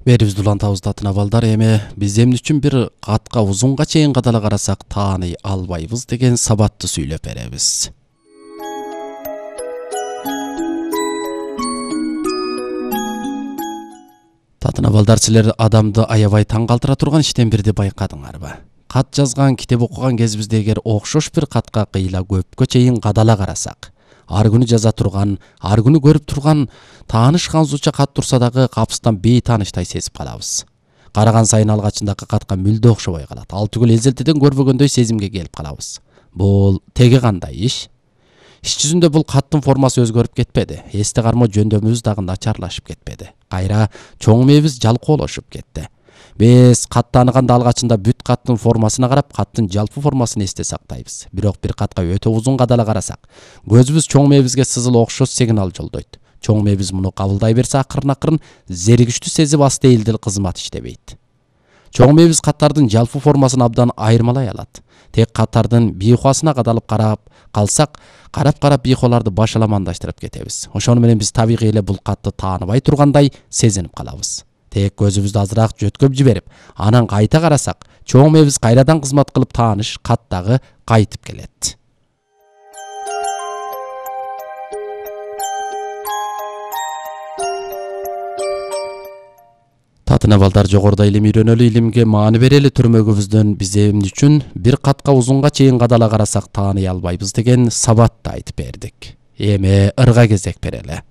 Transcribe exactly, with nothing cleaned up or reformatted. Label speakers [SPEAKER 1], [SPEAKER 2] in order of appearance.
[SPEAKER 1] Берибиз улантабыз татын абалдар. Эми биз эмне үчүн бир катка узунга чейин кадала карасак тааный албайбыз деген сабатты сүйлөп беребиз. Татын абалдар, силер адамды аябай таң калтыра турган иштен бирди байкадыңарбы? Кат жазган, китеп окуган кезибизде эгер окшош бир катка кыйла көпкө чейин кадала карасак, ар күнү жаза турган, ар күнү көрүп турган тааныш кансууча кат турса дагы капыстан бейтааныштай сезип калабыз. Караган сайын алгачындагы катка мүлдө окшобой калат. Ал түгүл эзелтеден көрбөгөндөй сезимге келип калабыз. Бул теге кандай иш? Иш жүзүндө бул каттын формасы өзгөрүп кетпеди. Эсте кармо жөндөмүбүз дагы начарлашып кетпеди. Кайра чоң мээбиз жалкоолошуп кетти. Биз катты ааныганда алгачында бүт каттын формасына карап, каттын жалпы формасын эсте сактайбыз. Бирок бир катка өтө узун кадала карасак, көзүбүз чоң мээбизге сызыл окшош сигнал жолдойт. Чоң мээбиз муну кабылдай берсе, акырын-акырын зеригиштүү сезип аст эйлдил кызмат иштебейт. Чоң мээбиз каттардын жалпы формасын абдан айырмалай алат. Тек каттардын бийхуасына кадалып карап калсак, карап-карап бийхуаларды башаламандаштырып кетебиз. Ошону менен биз табигый эле бул катты тааныбай тургандай сезинип калабыз. Тек көзүбүздү азыраак жөткөп жиберип, анан кайта карасак, чоң мээбиз кайрадан кызмат кылып тааныш каттагы кайтып келет. Татын абалдар, жогоруда илим үйрөнөлү, илимге маани берели түрмөгүбүздөн биз эмне үчүн бир катка узунга чейин кадала карасак тааный албайбыз деген сабатты айтып бердик. Эми ырга кезек берели.